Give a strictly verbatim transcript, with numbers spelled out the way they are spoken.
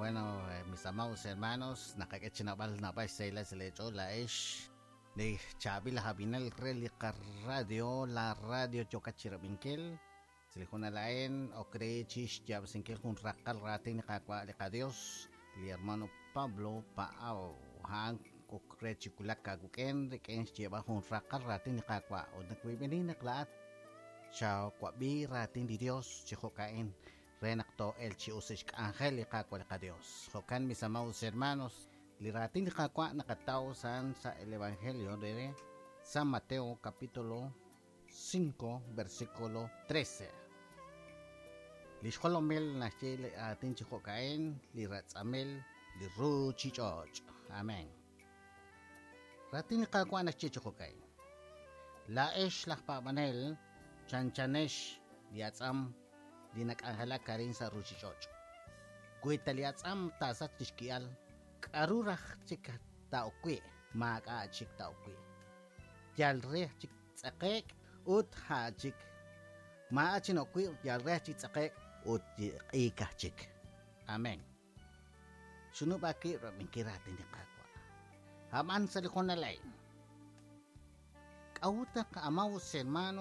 Bueno, eh, mis amados hermanos, naqak'e chi naab'al naab'al xsahilal sa' leech'ool laa'ex li chaab'il aj ab'inel re li qaradio, la radio yookat chi rab'inkil. Sa' li junal a'in ok re chi xyaab'asinkil jun raqal raatin li Qaawa' li qaDios, li hermano Pablo Paau. A'an ok re chi wulak aawik'in rik'in xyeeb'al jun raqal raatin li Qaawa'. Ut nakwib'eni naq laa'at xawab'i raatin li Dios chi jo'ka'in re naq too'el chi us xk'anjel li Qaawa' li qaDios. Jo'kan, mis amados hermanos, li raatin li Qaawa' naqataw san sa el Evangelio de San Mateo capítulo cinco versículo trece. Li xjolomil naxye li aatin chi jo'ka'in, li ratz'amil li ruchich'och'. Amén. Raatin li Qaawa' naxye chi jo'ka'in. Laa'ex laj paab'anel chanchanex li atz'am li nak'anjelak arin sa' ruchich'och'. Wi ta li atz'am taasach lix ki'al, k'aru raj chik taa'ok wi', maak'a' chik taa'ok wi'. Yal re chik tz'aqe'k ut ja' chik. Maa'a chi nok wi', yal re chik tz'aqe'k ut q'iikaj chik. Amén. Xunub'a ki' rab'inkil raatin li Qaawa'. Ab'an sa' li junal a'in. K'a'ut naq amados hermanos